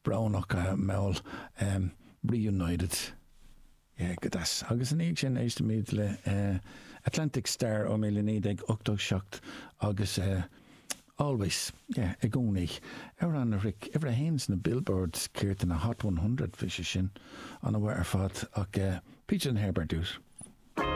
Brónach mall Reunited. Yeah, go deas. Agus ina dhiaidh sin éistfimid le Atlantic Starr ó 1987 agus Always, yeah, i gcónaí. Amhrán a shroich uimhir a haon sna Billboard céard na Hot 100, bhí sé sin an-mhaith ar fad ach Peter and Herb ar dtús.